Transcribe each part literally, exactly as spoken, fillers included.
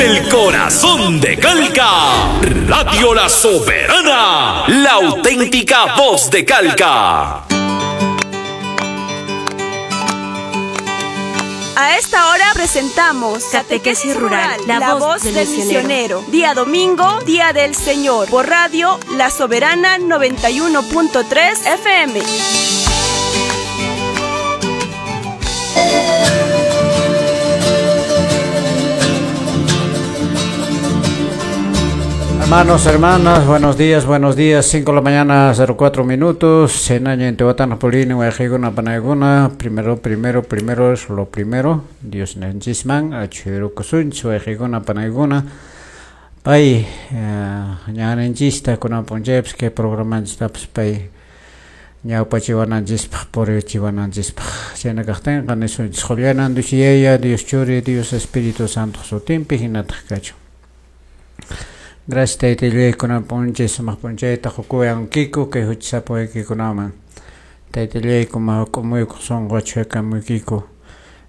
El corazón de Calca, Radio La Soberana, la auténtica voz de Calca. A esta hora presentamos Catequesis Rural, la, la voz, voz del, del misionero. misionero. Día domingo, Día del Señor, por Radio La Soberana noventa y uno punto tres F M. Hermanos, hermanas, buenos días, buenos días. cinco de la mañana, cero cuatro minutos. Senaña en Tehuatán, Polini, Guayajiguna, Panaiguna. Primero, primero, primero es lo primero. Dios nenchisman, Achirukusunch, Guayajiguna, Panaiguna. Pay, ñanenchista, kunapuncheps, que programanchistaps, pay, ñawpachiwananchispaj, purichiwananchispaj. Chaynakaqtinqa nisunchis, Juliana, Dios Yaya, Dios Churi, Dios Espíritu Santo, sutinpi, hinataq kachun. Gracias taytallay kunan p'unchay sumaq p'unchayta qukuwankiku kay huchasapuwaykikunaman. Taytallay kuma k'umuykuq sunqu achhuyakamuykiku.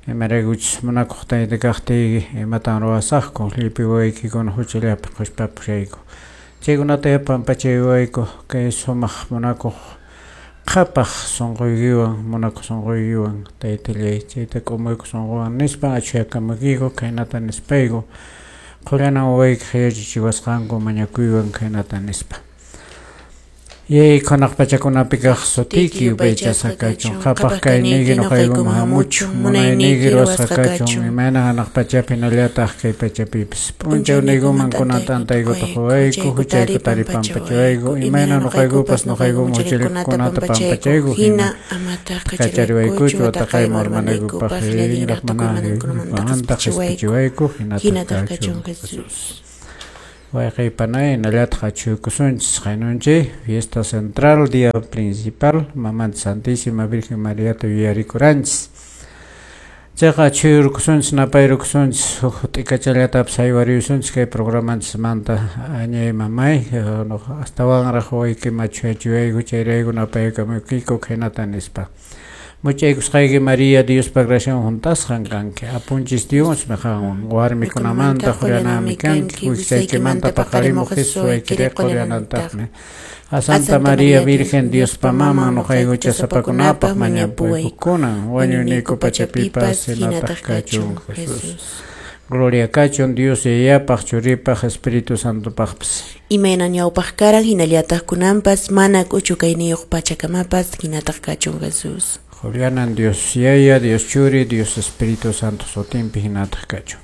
Imaraykuchus munakuq tayta kaqtiyki imatan ruwasaqku llipi wawaykikuna huchallapi qushpapushayku. Chaykunata pampachaywayku kay sumaq munakuq qhapaq sunquykiwan munakuq sunquykiwan taytallay chayta k'umuykuq sunquwan nispa achhuyakamuykiku khaynata nispayku. Qullana wawaykiq yachachiwasqanku mañakuywan khaynata nispa. Yay qhanaq pachakunapi kaq sutiyki yupaychasqa kachun, qhapaq kayniyki nuqaykuman hamuchun, munayniyki ruwasqa kachun, imayna hanaq pachapi hinallataq kay pachapipis. P'unchawniykuman kunan t'antaykuta quwayku, huchayku taripampachawayku, imayna nuqaykupas nuqaykuman huchallikuqkunata pampachayku, hina kachariwaykuchu wataqayman urmanaykupaq, rinraq mana qhispichiwayku, hinataq kachun Jesús. Wayqaypanay hinallataq achhuykusunchis qaynunchik fiesta central, día principal, Mamanta Santísima Virgen Mariata yuyarikuranchis. Chayqa achhuyurkusunchis napayrukusunchis huk t'ikachallatapis haywariyusunchis kay programanchismanta añay mamay astawanraq wawaykiman achhuyachiwayku chayrayku napaykamuykiku khaynata nispa. Muchaykusqayki María, Diospa gracian juntasqan kanki, apunchis Diosmi qanwan, warmikunamanta qullanami kanki, wiksaykimanta paqarimuq Jesús waykiri qullanantaqmi. A Santa María Virgen, Diospa maman, nuqayku chasapakunapaq mañapuwayku kunan, wañuyniyku pachapipas hinataq kachun Jesús. Gloria kachun Dios Yayapaq, Churipaq, Espíritu Santopaqpas. Imayna ñawpaq karan hinallataq kunanpas, mana k'uchu kayniyuq pachakamapas hinataq kachun Jesús. Juliana, Dios Yaya, Dios Churi, Dios Espíritu Santo, sutinpi hinataq kachun.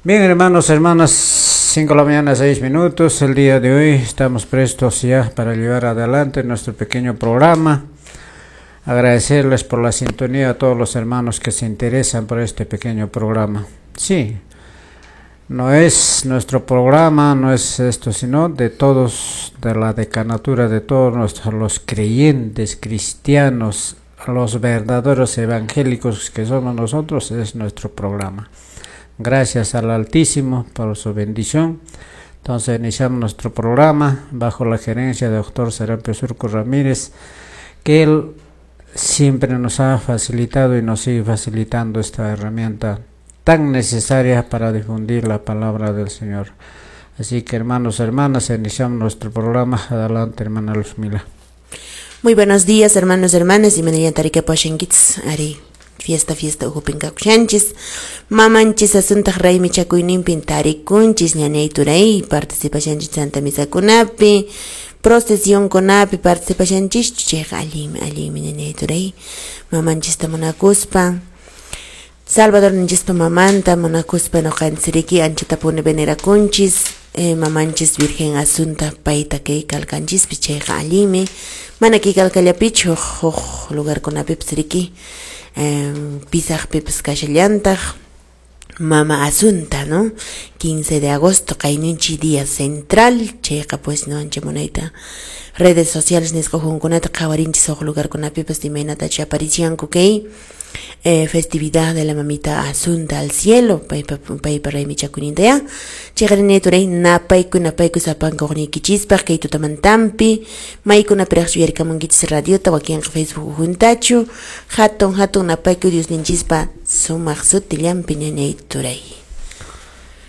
Bien, hermanos, hermanas, cinco de la mañana, seis minutos. El día de hoy estamos prestos ya para llevar adelante nuestro pequeño programa. Agradecerles por la sintonía a todos los hermanos que se interesan por este pequeño programa. Sí, no es nuestro programa, no es esto, sino de todos, de la decanatura, de todos nuestros, los creyentes cristianos, los verdaderos evangélicos que somos nosotros, es nuestro programa. Gracias al Altísimo por su bendición. Entonces iniciamos nuestro programa bajo la gerencia del doctor Serapio Surco Ramírez, que él siempre nos ha facilitado y nos sigue facilitando esta herramienta tan necesaria para difundir la palabra del Señor. Así que hermanos, hermanas, iniciamos nuestro programa. Adelante, hermana Luzmila. Muy buenos días, hermanos, hermanas, y mañana tarika poshenkits, ari fiesta, fiesta, ujupinkakushanchis, mamanchis asuntaq raymichakuyninpin tarikunchis, ñañay turay, participashanchis santa misakunapi, procesionkunapi participashanchis, chayqa allinmi, allinmi ñañay turay, mamanchista munakuspa, Salvador ninchispa mamanta munakuspa nuqanchiriki anchatapuni venerakunchis, eh, mamanchis Virgen Asunta payta kay kalkanchispi chayqa allinmi, mana kay kalkallapichu huk lugarkunapipis riki, eh, pisaqpipis kashallantaq Mama Asunta, ¿no? quince de agosto, qayninchi día central, chayqa pues no ancha munayta redes sociales nisqa hunkunata qhawarinchis huk lugarkunapipas imaynatachu aparicianku kay eh, festividad de la mamita Asunta al cielo, paypa paypa raymichakuyninta ya. Chayqarini turay napayku napayku sapanka uqniykichispaq kay tutamantampi maykunapiraqchu uyarikamunkichis radiota wakinqa Facebook juntachu hatun hatun napayku Diosninchispa sumaq sutillanpi ñañay turay.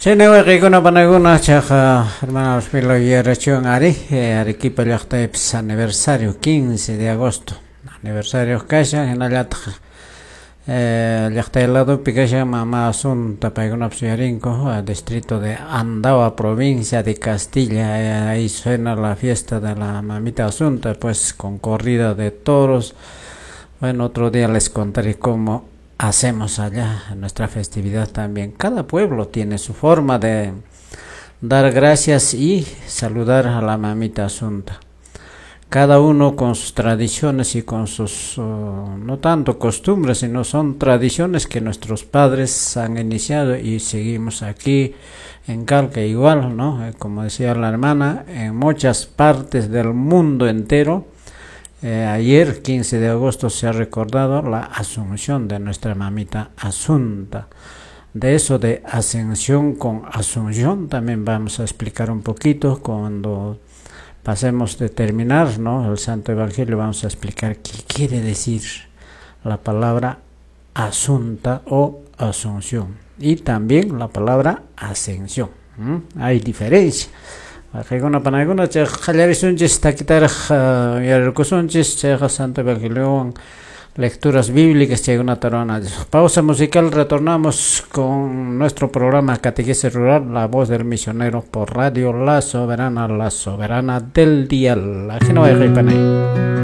Chayna wayqiykuna panakuna chayqa hermana Rosmila yuyarachiwan ari Arequipa llaqtaypis aniversario quince de agosto aniversario kashan hinallataq llaqtay ladopi kashan mama Asunta paykunapas yuyarinku distrito de Andawa, provincia de Castilla. Ahí suena la fiesta de la mamita Asunta, pues con corrida de toros. Bueno, otro día les contaré cómo hacemos allá nuestra festividad también. Cada pueblo tiene su forma de dar gracias y saludar a la mamita Asunta. Cada uno con sus tradiciones y con sus, uh, no tanto costumbres, sino son tradiciones que nuestros padres han iniciado y seguimos aquí en Calca igual, ¿no? Como decía la hermana, en muchas partes del mundo entero. Eh, ayer, quince de agosto, se ha recordado la asunción de nuestra mamita Asunta. De eso de ascensión con asunción también vamos a explicar un poquito cuando pasemos de terminar, ¿no?, el Santo Evangelio. Vamos a explicar qué quiere decir la palabra asunta o asunción y también la palabra ascensión. ¿Mm? Hay diferencia. Qaykuna panakuna chayqa qallarisunchis takitaraq yuyarikusunchis chayqa Santo Evangeliowan lecturas bíblicas chaykunata ruwananchis. Pausa musical, retornamos con nuestro programa Catequesis Rural, la voz del misionero por Radio La Soberana, la soberana del dial. Ajeno.